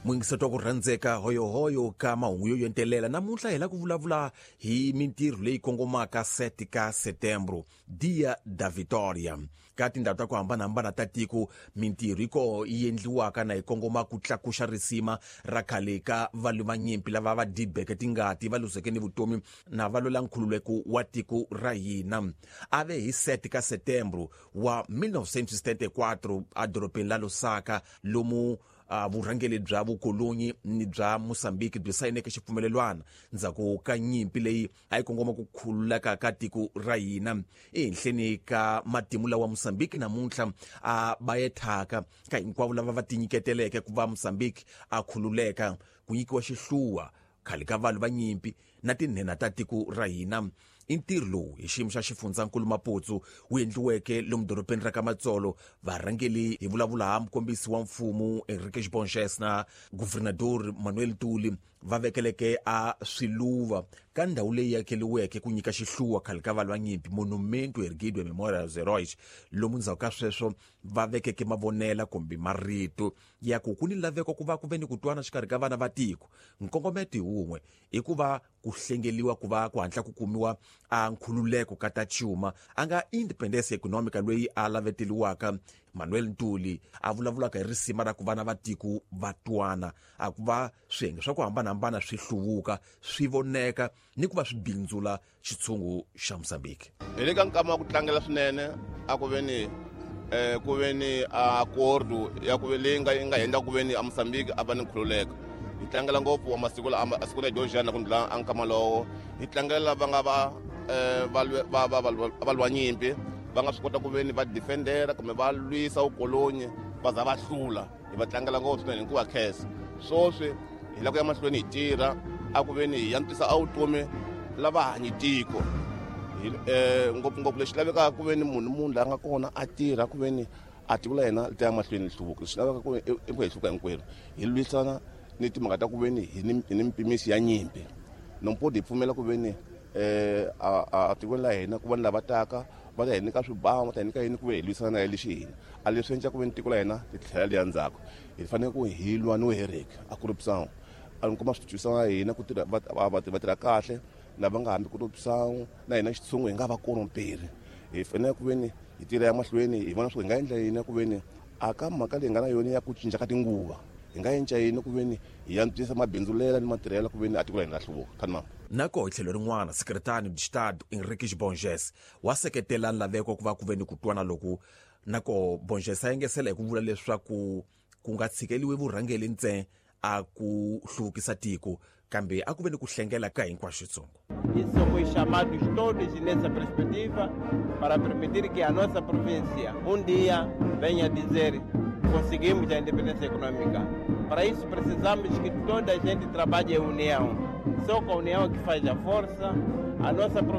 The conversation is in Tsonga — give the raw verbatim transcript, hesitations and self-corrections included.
Muyingiseti wa ku rhandzeka, hoyohoyo ka mahungu yo yentelela. Namuntlha hi la ku vulavula hi mintirho leyi kongomaka sete ka setembro, Dia da Vitória. Ka tindhawu ta ku hambanahambana ta tiko, mintirho yi koho yi endliwaka na yi kongoma ku tlakuxa risima ra khale ka valwi va nyimpi lava va dibeke tingati, va luzeke ni vutomi na va lwela nkhululeko wa tiko ra hina. A ve hi sete ka setembro wa mil novecentos e setenta e quatro edorobeni la Lusaka, lomu uh, vurhangeri bya vukolonyi ni bya Mosambiki byi sayineke xipfumelelwana ndzhaku ka nyimpi leyi a yi kongoma ku khululeka ka tiko ra hina. Ehenhleni ka matimu lawa Mosambiki namuntlha a bayethaka ka hinkwavo lava va tinyiketeleke ku va Mosambiki a khululeka, ku nyikiwa xihluwa khale ka vanhu va nyimpi na tinhenha ta tiko ra hina. I ntirho lowu hi xiyimo xa xifundzankulu Maputo wu endliweke lomu dorobeni ra ka Matsolo. Varhangeli, hi vulavula ha mukombisi wa mfumo Henriques Bonges na guvernador Manuel Tuli, va vekeleke a swiluva ka ndhawu leyi akeliweke ku nyika xihluwa khale ka valwa nyimpi, Monumento Erguido em Memória aos Heróis, lomu ndzhaku ka sweswo va vekeke mavonela kumbe marito ya ku ku ni laveko ku va ku ve ni ku twana xikarhi ka vana va tiko. Nkongometo hi wun'we i ku va ku hlengeliwa ku va ku hatla ku kumiwa a nkhululeko ka ta cuma, a nga independence economica loyi a laveteliwaka. Manuel Ntuli a vulavulaka hi risima ra ku vana va tiko va twana, a ku va swiyenge swa ku hambanahambana swi hluvuka, swi voneka ni ku va swi bindzula xitshungu xa Mosambiki. Hi le ka nkama wa ku tlangela swinene a ku ve ni eh ku ve ni acordo ya ku ve leyi nga yi nga endla ku ve ni a Mozambique a va ni nkhululeko. Hi tlangela ngopfu wa masiku la a siku la Georgiana ku ndlula a nkama lowo. Hi tlangela lava nga va eh va va va va lwa nyimpi, va nga swi kota ku ve ni va defendera kumbe va lwisa vukolonyi va za va hlula. Hi va tlangela ngopfu swinene hikuva khensa. Swoswi hi lava ku ya mahlweni hi tirha a ku ve ni hi antswisa a vutomi lava hanyi tiko hi eh ngopfungopfu. Lexi lavekaka ku ve ni munhu munhu la nga kona a tirha ku ve ni a tiko la hina li ta ya mahlweni li hluvuka. Lexi lavekaka ku i ku hi hluvuka hinkwerhu, hi lwisana ni timhaka ta ku ve ni hi ni hi ni mpimiso ya nyimpi. Nompodi hi pfumela ku ve ni eh a a tikweni la hina ku va ni lava taka va ta hi nyika swibamu, va ta hi nyika yini, ku ve hi lwisana na lexi hina a leswi endla ku ve ni tiko la hina ri tlhela li ya ndzhaku. Hi fanele ku hi lwa no heriki a corruption. A ni kuma swi twisana hina ku tirha va va va tirha kahle lava nga hambi corruption na hina xitshungu hi nga va koromperi. Hi fanele ku ve ni hi tirha ya mahlweni, hi vona swo hi nga endla yini ku ve ni a ka mhaka leyi nga na yona ya ku cinca ka tinguva, hi nga endla yini ku ve ni hi antswisa mabindzulela ni matirhelo ku ve ni a tiko la hina ra hluvuka khanimama. Nako hi tlhelo rin'wana, secretário de Estado Henriques Bonges wa seketela laveko ku va ku ve ni ku twana loku. Nako Bonges a yengesela hi ku vula leswaku ku nga tshikeliwi vurhangeli ntsena a ku hluvukisa tiko, kambe a ku ve ni ku hlengela ka hinkwaswo xitsongo. Isso foi chamados todos nessa perspectiva para permitir que a nossa província um dia venha dizer: conseguimos a independência econômica. Para isso precisamos que toda a gente trabalhe em união. Só com a união é que faz a força. A nossa província